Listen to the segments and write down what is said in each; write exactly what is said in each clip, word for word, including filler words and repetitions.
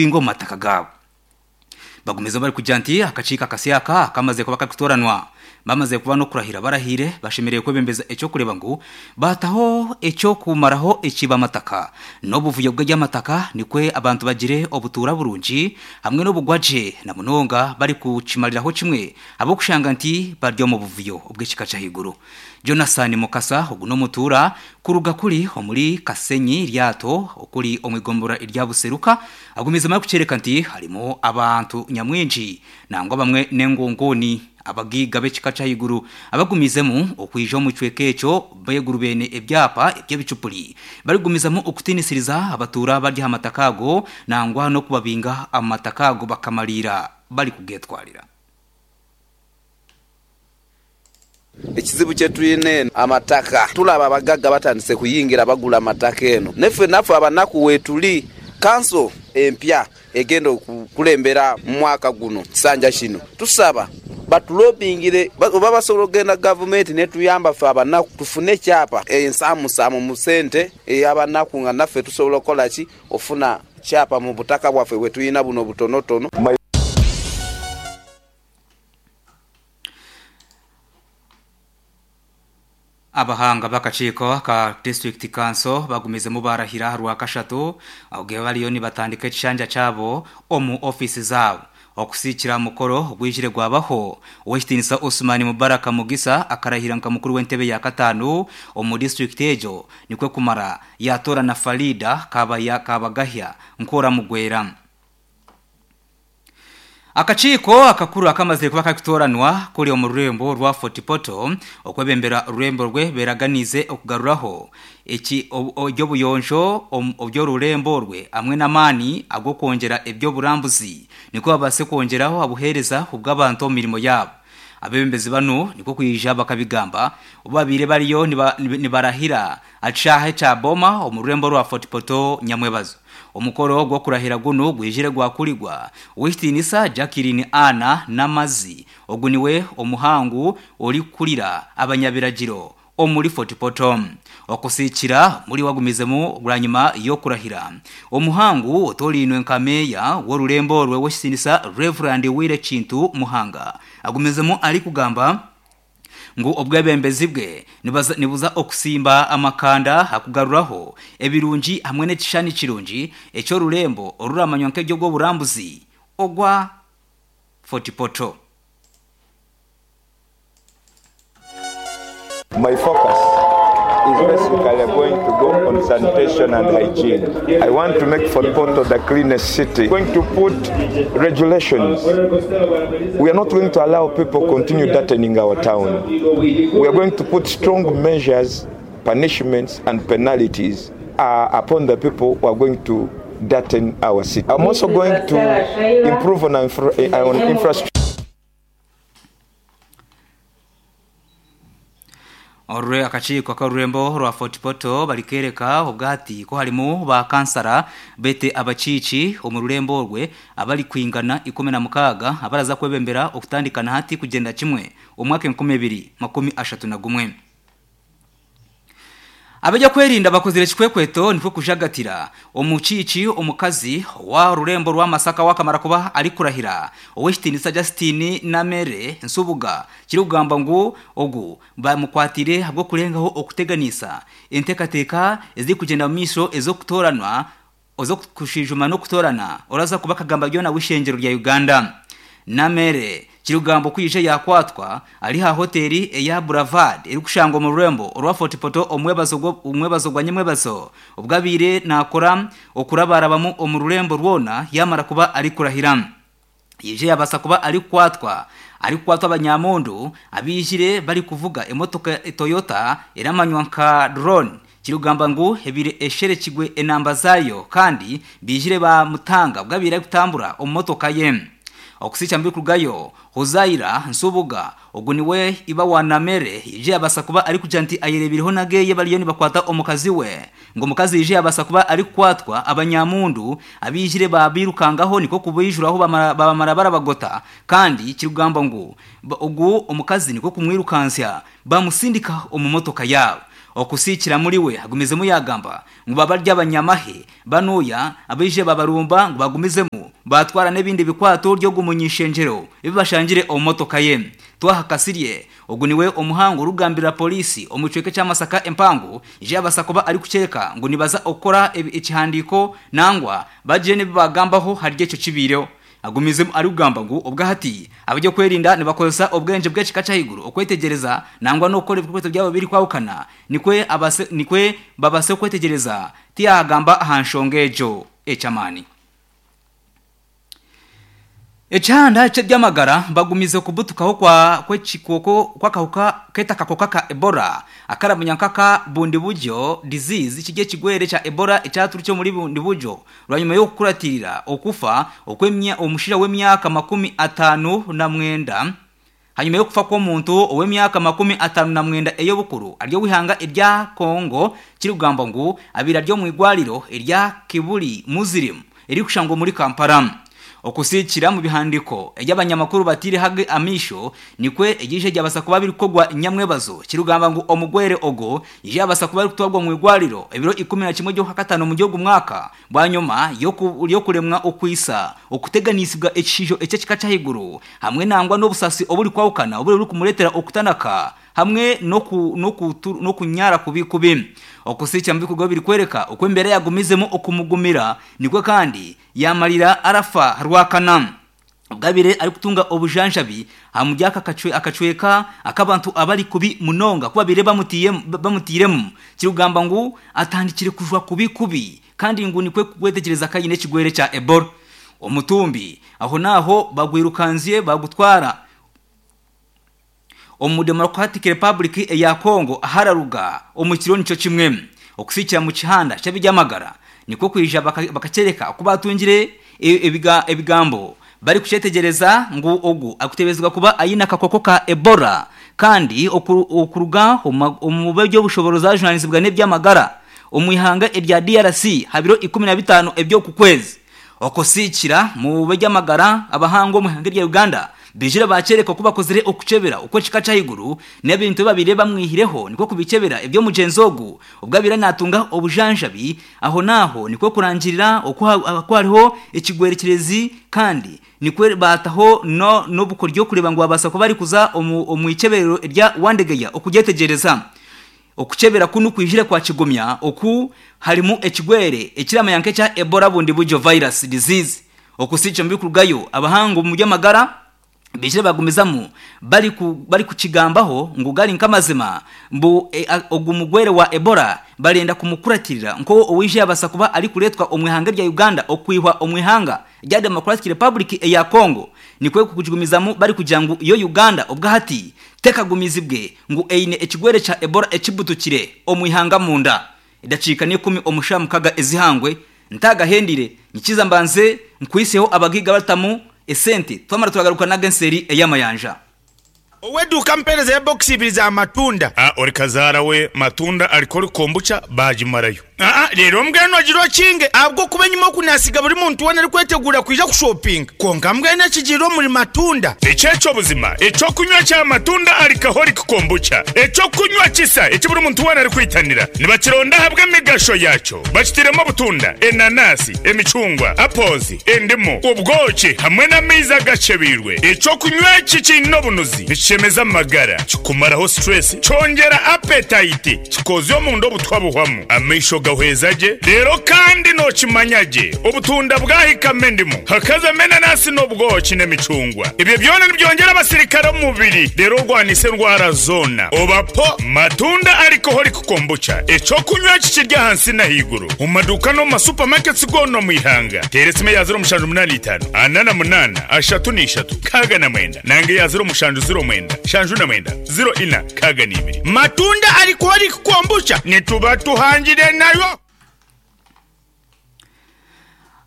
Okubinga omu mataka gaabo. Bagumize bari kugira nti akakiiko akasyaka kamaze kuba kakutoranwa, bamaze kuba n'okurahira barahire, bashemereire kwebembeza ekyokureba ngu bataho ekyokumaraho ekiba amataka n'obuvuyo bw'ebyamataka, nikwe abantu bagire obutuura burungi hamwe n'obugwagye, na munonga bari kukimariraho kimwe ab'okushanga nti bari omu buvuyo obw'ekika ky'ahaiguru. Jonathan Mukasa ogu n'omutuura kuruga kuri omuri Kasenyi Ryato okuri omu igombora erya Buseruka, agumizemu arikukyereka nti harimu abantu nyamwingi nangwa bamwe n'engongoni abagiiga b'ekika ky'ahaiguru abagumizemu okwija omu kicweka ekyo beegurubene ebyapa eby'ebicupuri, barikugumizamu okutiinisiriza abatuura bari aha mataka ago nangwa n'okubabinga amataka ago bakamariira bari kugetwarira. Ekizibu kyetwine amataka, tulaba abagaga batandise kuyingira bagula amataka eno, neffe naffe abanaku wetuli. Kanso empya egenda okukulembera mu mwaka guno kisanja kino, tusaba batulobingire oba basobola okugenda gavumenti netuyamba ffe abanaku tufune ekyapa ensamusamu mu sente ey'abanaku, nga naffe tusobola okukola ki ofuna kyapa mu butaka bwaffe bwe tulina buno butonotono. Abahanga b'akakiiko ka district council bagumizemu barahira Rwakashatu obwe bariyo nibatandika ekishanja kyabo omu ofiisi zaabo. Okusiikira mukoro ogwijire gwabaho, ow'ekitiinisa Osman Mubaraka Mugisa akarahira nka mukuru w'entebe ya kataano omu district egyo, nikwe kumara yatora na Farida Kabaya Kabagahya Nkora Mugwera. Akakiiko akakuru akamaze kuba kakutoranwa kuri omu rurembo rwa Fort Portal okwebembera orurembo rwe beraganize okugaruraho eki eby'obuyonjo oby'orurembo rwe hamwe n'amaani ag'okwongyera eby'oburambuzi, nikwo babaase kwongyeraho abuheereza obw'abantu omu mirimo yaabo. Abebembezi banu nikwo kwija bakabigamba obu babaire bariyo nibarahira aha kishaaha ekya Boma omu rurembo rwa Fort Portal Nyamwebazo. Omukoro gw'okurahira gunu gwijire gwakurigwa ow'ekitiinisa Jacqueline Anna Namazi, ogu niwe omuhangu orikukurira abanyabiragiro omuri Fort Portal. Okusiikira muri wagumizemu bwanyima y'okurahira, omuhangu otorinwe nka meeya w'orurembo orwe w'ekitiinisa Reverend Wire Kintu Muhanga agumizemu arikugamba ngu obwebembezi bwe nibuza okusimba amakanda akugaruraho ebirungi hamwe n'ekishushani kirungi eky'orurembo oruramanywa nk'ery'obwoburambuzi ogwa Fort Portal. My focus is basically going to go on sanitation and hygiene. I want to make Fort Portal the cleanest city. Going to put regulations. We are not going to allow people continue dirtying our town. We are going to put strong measures, punishments and penalties, uh, upon the people who are going to dirty our city. I'm also going to improve on, infra- on infrastructure. Orwe akakiiko k'orurembo rwa Fort Portal barikereka obwati ko harimu ba kansara bete abakiiki omu rurembo orwe abari kwingana ikumi na mukaaga abaraza kwebembera okutandikana hati kugenda kimwe omwaka enkumi ebiri makumi ashatu na gumwe. Abajya kwerinda bakozire kikwekweto nikwo kujagatira omukiiki omukazi wa rurembo rwa Masaka wakamara kuba ari kurahira ow'ekitiinisa Justine Namere Nsubuga, kiri kugamba ngu ogu bamukwatire ahabw'okurengaho okuteganisa enteekateeka eziri kugyenda mu maisho ez'okutoranwa ez'okushijuma n'okutorana oraza kuba akagamba byona w'ishengyero rya Uganda. Namere kiri kugamba okwija yakwatwa ari ha hoteli eya Bravad erikushangwa omu rurembo orwa Fort Portal omwebazo omwebazo gwa nyamwebazo obwabire nakora okurabarabamu omu rurembo rwona yamara kuba ari kurahira. Yije yabasa kuba ari kukwatwa ari kukwatwa abanyamundu abijire bari kuvuga emotoka Toyota eramanywa nka drone, kiri kugamba ngu ebire esherekigwe enamba zayo kandi bijire bamutanga bwabire kutambura omu motoka ye. Okusicha mbi kurugayo Huzaira Nsubuga ogu niwe iba wa Namere yije yabasa kuba ari kugira nti ayerebiriho nageye bariyo nibakwata omukazi we, ngo omukazi yije yabasa kuba ari kukwatwa abanyamundu abijire babirukangaho niko kubijuraho bamara barabagota, kandi kiri kugamba ngu ogu omukazi niko kumwirukansya bamusindika omu motoka yabo. Okusikira muri we agumizemu yagamba ngu babarya abanyamahe banuya abije babarumba ngu bagumizemu batwara n'ebindi bikwato ryo gumunyishenjero ebibashangire omumotoka ye. Twahakasirye ogu niwe omuhango rugambira polisi omucweke cy'Amasaka empango ije abasakuba ari kucereka ngu nibaza okora ekihandiko nangwa bagire nibagambaho harye cyo kibiro. Agumizemu ari kugamba ngu obwahati abajya kwerinda nibakozesa obwenje bw'ekika cyahiguru okwetegereza nangwa no gukora ibikweto byabo biri kwawukana nikwe abase nikwe babase kwetegereza tiyagamba ahanshongejo ecamani. Echanda cy'amagara bagumize kubutukaho kwa kwekikoko kwakahuka keta kakoka ka Ebola akaramunyankaka bundi buryo disease kijye kigwere cha Ebola ecyaturutse muri bundi buryo rwanyuma yo kukuratirira okufa okwemya omushira w'emyaka makumi atanu na mwenda hanyuma yo kufa kw'omuntu ow'emyaka makumi atanu na mwenda eyo bukuru aryo wihanga irya Kongo kiri kugamba ngu abira ryo mu igwariro irya Kibuli Muslim iri kushango muri Kampala. Okusikira mu bihandiko eby'abanyamakuru batiri hage amisho nikwe egishe gyabasa kuba biri kogwa inyamwebazo kirugamba ngu omugwere ogo yabasa kuba biri kutwagwa mu igwariro ebiro ikumi na kimwe ryo katano mu gihugu mwaka bwanyuma yo kuremwa okwisa okuteganisibwa ecisho ecekika cyahiguru hamwe nangwa n'obusasi oburi kwawukana oburi kumuretera okutanaka hamwe no ku no ku no kunyara kubikubi. Okusicha mbikugo biri kwereka okwembere yagumizemo okumugumira nikwe kandi yamarira arafa rwakana bwabire ari kutunga obujanjabi hamujyaka akacwe akacweka akabantu abari kubi munonga kuba bire bamutiye bamutiremu kirugamba ngu atandikire kujwa kubi kubi kandi ngu nikwe kwetekereza kayine kigwere cha Ebola. Omutumbi aho naho bagwirukanziye bagutwara omu Democratic Republic ya Congo ahararuga omukiro nico kimwe. Okusikira mu kihanda cy'abiryamagara niko kwija bakacereka kuba batungire ebiga ebigambo bari kucetegereza ngu ogu akutebezwa kuba ayina kakoko ka Ebola kandi okuruga omu byo bushoboroza journalism n'ebyamagara omwihanga erya D R C habiro ikumi na bitano ebyo kukwezi. Okusikira mu byamagara abahango mu hanga rya Uganda bijira bacereka kuba kozire okucebera uko kika cyahiguru n'ebintu babire bamwihireho niko kubicebera ebyo mugenzogu ubwabira natunga obujanjabi aho naho niko kurangirira uko hariho ikigwerekerezi kandi nikwe bataho no nobukoryo kureba ngo abasa kuba ari kuza omwicebero rya Wandegeya okugetegereza okucebera kunu kwijire kwa kigumya oku harimu ekigwere ekiramayanke cya Ebola bundi buryo virus disease. Okusicha mbikurugayo abahango mu byamagara bijire bagumizamu bari ku bari kukigambaho ngo gari nkamazima mbu e, ogumugwere wa Ebola barenda kumukuratirira nko owije abasa kuba ari kuretwa omwihanga rya Uganda okwihwa omwihanga rya Democratic Republic ya Congo nikwe kukigumizamu bari kugira ngo iyo Uganda ubwahati tekagumizibwe ngo eine ekigwere cha Ebola ekibutukire omwihanga munda idacika ni kumi omushamukaga ezihangwe ntagahendire nyikiza mbanze nkwiseho abagiga batamu esente twamara turagaruka na genseri eyamayanja. Oweduka mpereza ya box ibiri za matunda. Ah, ori kazara we matunda alikori kombucha bajimarayo. Ah ah, rero mbweno agiro kinge abwo kubenyuma kunasiga buri muntu wana ari kwetegura kwija ku shopping. Konka mbwene kijiro muri matunda. Echecho buzima, echo kunywa cha matunda alikahori kombucha. Echo kunywa kisa, echi buri muntu wana ari kwitanira. Nibakironda habwe migasho yacho. Bakitiremo butunda, enanasi, emicungwa, apples, endimu, ubwoki hamwe n'amiza gacebirwe. Echo kunywa kikino bunuzi. Chemeza magara kikumaraho stress chongera appetite kikozyo mu ndo butwabuhwamu amisho gahwezaje rero kandi no kimanyaje obutunda bwahikame ndimu hakaza menanasi n'ubwoki n'emicungwa ibyo byona nibyongera abasirikare mu mubiri rero rwanise ndwara zona obapo matunda alcoholic kombucha eco kunywa kikirya hansi na higuru mu maduka no mu supermarkets gono mu ihanga teresime ya zero mushanju munani itanu anana munana ashatu n'ishatu kaga na mwenda nange ya zero mushanju zero mwenda shanju na mwenda zero ina kaga n'ibiri matunda alcoholic kombucha nituba tuhangire nayo.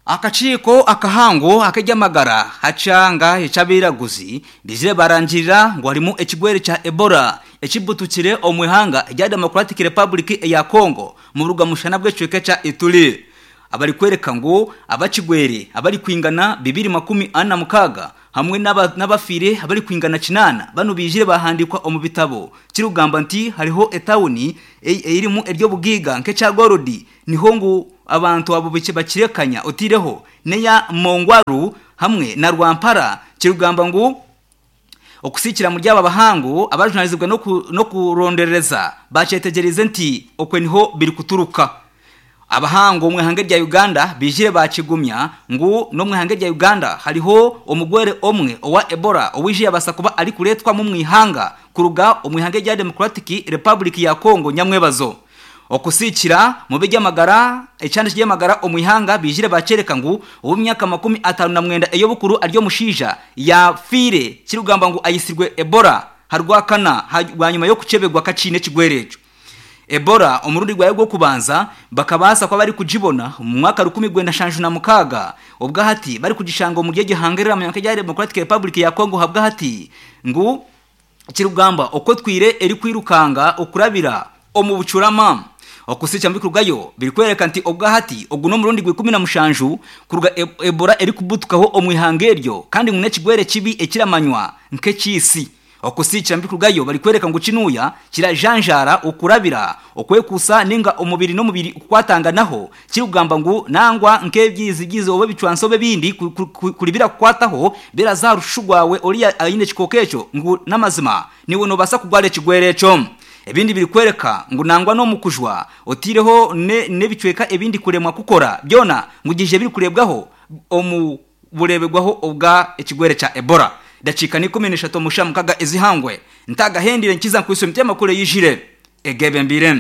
Akachiko akahango akejamagara hachanga echabiraguzi bizire barangirira ngo harimo ekigwere cha Ebola ekibutukire omwihanga rya Democratic Republic ya Congo mu ruga mushana bw'ecweke cha Ituri. abari kwereka ngo abakigwere abari kwingana bibiri makumi ana mukaga hamwe n'abafire abari kwingana kinana bano bijire bahandikwa omu bitabo kirugamba nti hariho etawuni eirimu eryo bugiga nke Gorodi niho ngu abantu abo bakirekanya otireho neya Mongwaru hamwe na Rwampara kirugamba ngu okusikira mu ryaba bahangu abajunalizibwa no no kurondereza bacetegereze nti okwe niho biri kuturuka abahango mu ihanga rya Uganda bijire bakigumya ngu no mu ihanga rya Uganda hariho omugwere omwe owa Ebola owije yabasa kuba ari kuretwa mu mwihanga kuruga omu ihanga rya Democratic Republic ya Congo nyamwebazo okusikira mu bijyamagara ecyandi cy'amagara omwihanga bijire bacereka ngu ubu myaka makumi atanu na mwenda eyo bukuru aryo mushija ya fire kirugamba ngu ayisirwe Ebola harwakana hanyuma yo kucebegwa kacine kigwerejo Ebola omurundi gwayo gwo kubanza bakabasa kwa bari kujibona mu mwaka rukumi gwenda shanju na mukaga ubwa hati bari kugishanga mu gihe hangerera mu ya Democratic Republic ya Congo habwa hati ngu kirugamba uko twire eri kwirukanga okurabira omu bucurama okusicha mbikurugayo birikwereka nti obwa hati oguno murundi gwe kumi na mushanju kuruga Ebola eri kubutukaho omwihanga eryo kandi ngune kigwere kibi ekiramanywa nk'ekisi okusicha mbikurugayo bari kwereka ngo kinuya kirajanjara okurabira okwekusa ninga omubiri n'omubiri kwatanganaho kirugamba ngu nangwa nk'ebyizi byizi obe bicwanso bindi kulibira kukwataho birazarushugwawe oriya ayine kikokecho ngu namazima niwe nobasa kugwara ekigwere eco ebindi biri kwereka ngo nangwa no mukujwa otireho ne nebicweka ebindi kuremwa kukora byona ngugije biri kurebwaho omu burebegwaho obwa ekigwere cha Ebola dakika ni kumi n'eshatu mushamukaga ezihangwe ntagahendire nkiza nkwisa mutema kure yijire egebe mbire.